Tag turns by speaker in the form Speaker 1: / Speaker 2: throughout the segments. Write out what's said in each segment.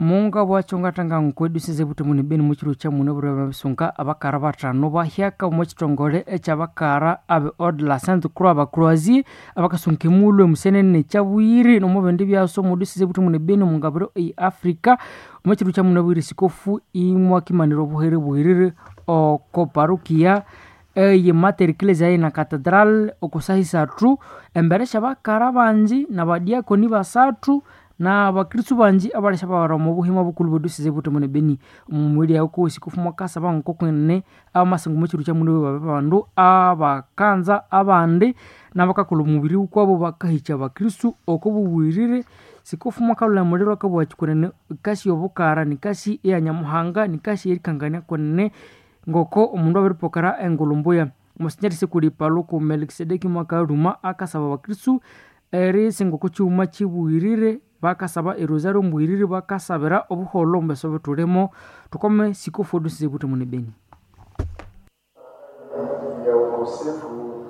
Speaker 1: Munga bwacho ngatanga nkweduseze butembo ne Beni mukiro kya muno bure babisunga abakara batano bahyaka omu kitongole ekyabakara abe Ordre la Sainte Croix abacroisier abakasunga emulhu emusenene kyabuyiri nomubindi byaso muduseze butembo ne Beni omungabiro eye Africa omu kiro kya muno bwire sikofu imwakimanira obuhere bwirire oko parukia eye Mater Ecclesiae na Cathedral okusaha isathu embere syabakara bangi nabadiakoni basathu n'abakristu bangi abalesya bawara omu buhima bukulhu bweduseze butembo ne Beni. Omumweli aho sikofu mwakasaba ngokwene amasinga omu kiro kya muno babe bandu abakanza abandi n'abakakolha omubiri wukwabo bakahikya abakristu oko bubwirire. Sikofu mwakalhula muliro akabugha kwenene ikasi obukara nikasi eya Nyamuhanga nikasi erikangania kwenene ngoko omundu abiripokera engulhu mbuya. Monsinyeri Sikuli Paluku Melkisedeki mwakalhuma akasaba abakristu erisinga oko kighuma kibwirire bakasaba erosario mbwirire bakasabira obuholho omu byeso ebithulimo. Thukome sikofu eduseze butembo ne Beni.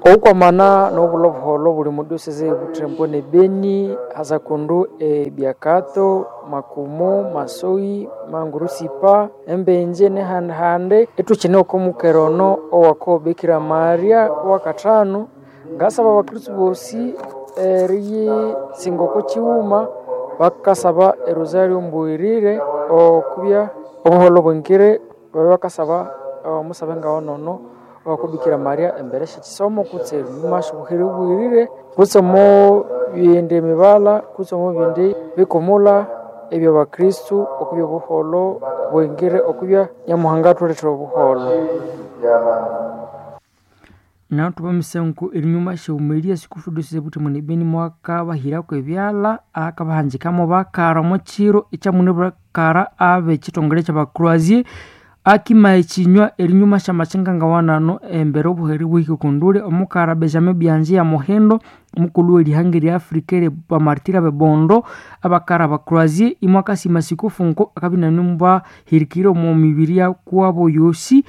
Speaker 1: Okwamana n'obulho obuholho obuli omu diocese y'ebuthembo ne Beni hasa kundu ebyakato, Makumu, Masoyi, Mangurusipa, Embenje n'ehandi-handi ithukine oko mukera ono owako Bikira Maria owakathanu. Ngasaba abakristu bosi eriyisinga oko kighuma bakasaba erosario mbwirire okubya obuholho bwingire babye bakasaba omusabe ngawonono owako Bikira Maria embere syekyisomo kutse erinyuma syobuhere bwirire kutse omo bindi mibala kutse omo bindi bikumula ebyabakristu okubya obuholho bwingire okubya Nyamuhanga athulethera obuholho. Naathuba emisango erinyuma syawumelia sikufu diocese butembo ne Beni mwakabahirako ebyalha akabahanjikamo bakara omo kiro ekyamune bakara ab'ekitongole ky'abacroisier akima ekinywa erinyuma syamakinga ngawanano embere obuhere buhike okunduli omukara Benjamin Byanji ya Muhindo omukulhu w'erihanga erya Africa eri bamartiri ab'ebondo abakara abacroisier imwakasima sikufu nko akabya inanimubahirikire omo mibiri yakwabo yosi.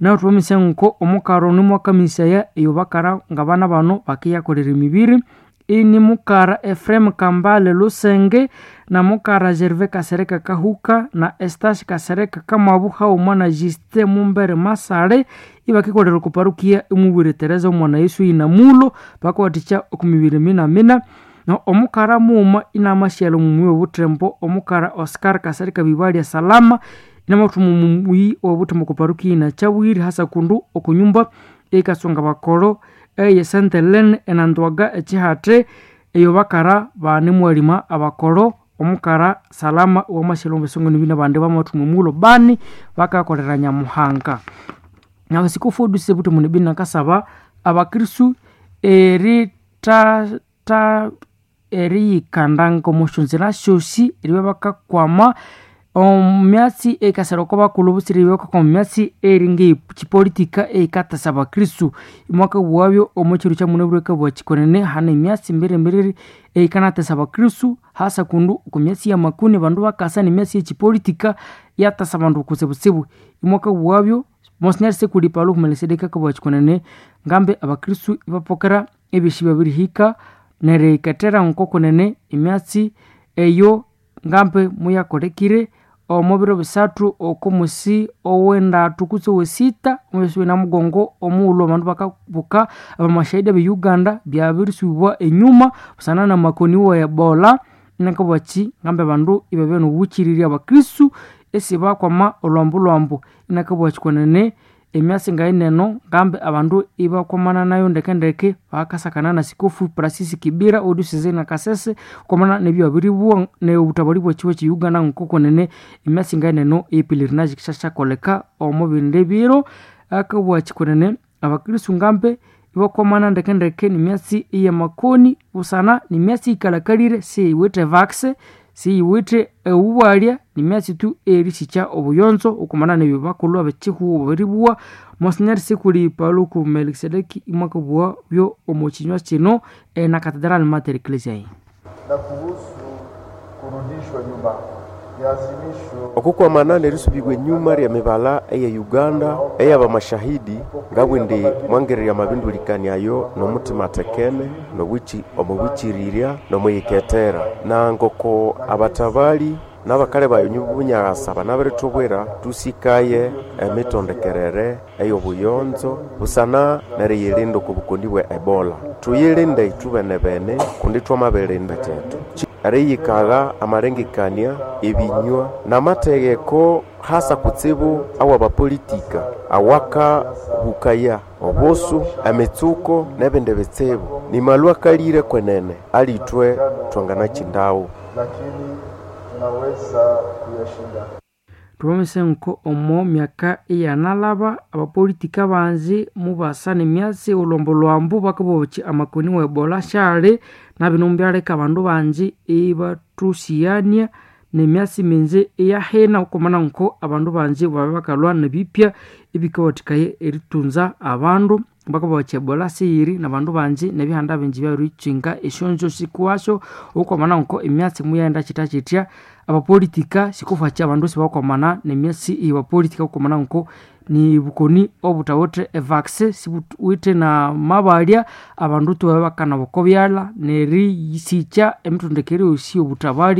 Speaker 1: Naathuba emisango omukara ono mwakamisaya eyo bakara ngabana bano bakiyakolera emibiri ini mukara Ephraim Kambale Lusenge na mukara Gervais Kasereka Kahuka na Estache Kasereka Kamabu haghuma na Justin Mumbere Masale ibakikolera oko parukia emubwire Teresa omwana Yesu inamulo bakawathikya oku mibiri mina-mina. No omukara mughuma inamasyalha omumuyi w'obuthembo omukara Oscar Kasereka Bibalya Salama inamathuma omumuyi w'obuthembo oko parukia inakyabwire hasa kundu oko nyumba eyikasunga bakolo eye Saint Helene enandwaga ekihathe eyo bakara banemwalima abakolo omukara Salama wamasyalha omu bisongo nibina abandi bamathuma omughulhu bani bakakolera Nyamuhanga. Nahu sikufu diocese butembo ne Beni akasaba abakristu eriyikandanga omo syonzira syosi eribya bakakwama omumyatsi eyikasira oko bakulhu butsire eribya bakakwama emyatsi eri ng'ekipolitika eyikatasa abakristu. Imwakabughabyo omo kiro kyamunabwire akabugha kikwenene hane emyatsi mbiri-mbiri eyikanatesa abakristu hasa kundu oko myatsi y'amakuni abandu bakasa n'emyatsi y'ekipolitika yatasa abandu kutsibutsibu. Imwakabughabyo Monsinyeri Sikuli Paluku Melkisedeki akabugha kikwenene ngambi abakristu ibapokera ebyosi byabirihika neriyikethera ngoko kunene emyatsi eyo ngambi muyakolekire omo biro bisathu oko musi ow'endathu kutse ow'esita omwisi w'enamugongo omughulhu abandu bakabuka abamashahidi abe Uganda byabirisubibwa enyuma busana n'amakoni wa Ebola inakabugha ki ngambi abandu ibabya n'obukirirya abakristu isibakwama olhwambu-lhwambu. Inakabugha kikwenene emyatsi ngayineno ngambi abandu ibakwamana nayo ndeke-ndeke bakasakana na sikofu Francis Kibira ow'ediocese na Kasese kwamana n'ebyabiribugha n'obutabali bw'ekihugo kye Uganda ngoko kunene emyatsi ngayineno ey'epelerinage yikasyakoleka omo bindi biro. Akabugha kikwenene abakristu ngambi ibakwamana ndeke-ndeke n'emyatsi ey'amakoni busana n'emyatsi eyikalhakalire siyiwithe vaccine siyiwithe obubwalya n'emyatsi tu eyerisikya obuyonzo okwamana n'ebyo bakulhu ab'ekihugho babiribugha. Monsinyeri Sikuli Paluku Melkisedeki imwakabugha byo omo kinywa kino ena Cathedral Mater Ecclesiae.
Speaker 2: Na kuhusu kurudishwa nyuma ya azimisho
Speaker 3: Okukwamana n'erisubibwa enyuma ly'emibala eye Uganda ey'abamashahidi ngabwindi mwangererya amabindulikani ayo n'omutima atekene n'omubwikirirya n'omwiyikethera na ngoko abatabali N'abakali bayo Bunyagasa banabirithubwira tusikaye emitondekerere ey'obuyonzo busana neriyilinda oko bukoni bwa Ebola. Tuyilinde ithwe bene kundi twamabirinda kyethu. Eriyikagha amalengekania, ebinywa n'amategeko hasa kutsibu awabapolitika awakahukaya obusu, emitsuko n'ebindi bitsibu. Nimalwa akalire kwenene alithwe twanganakyindawo.
Speaker 2: Lakini tunaweza kuyashinda.
Speaker 1: Thubamese nko omo myaka iyanalaba abapolitika banji mubasa nemyatsi olhwambo-lhwambo bakabowa amakoni wa Ebola syali nabino mubyaleka abandu banji ibathusigania nemyatsi minji iyahina okwamana nko abandu banji babya bakalhwa nebipya ebikawathikaya eritunza abandu. Bakabowa Ebola siyiri nabandu banji nebihanda binji byabirikyinga esyonjo sikuwasyo okwamana nko emyatsi muyaghenda kyityakyitya. Abapolitika sikufakya abandu sibakwamana nemyatsi eyabapolitika okwamana nko nibukoni obuthawithe evaccine sibuwithe namabalya abandu ithwabya bakanaba oko byalha neriyisikya emitondekere yosi eyobuthabali.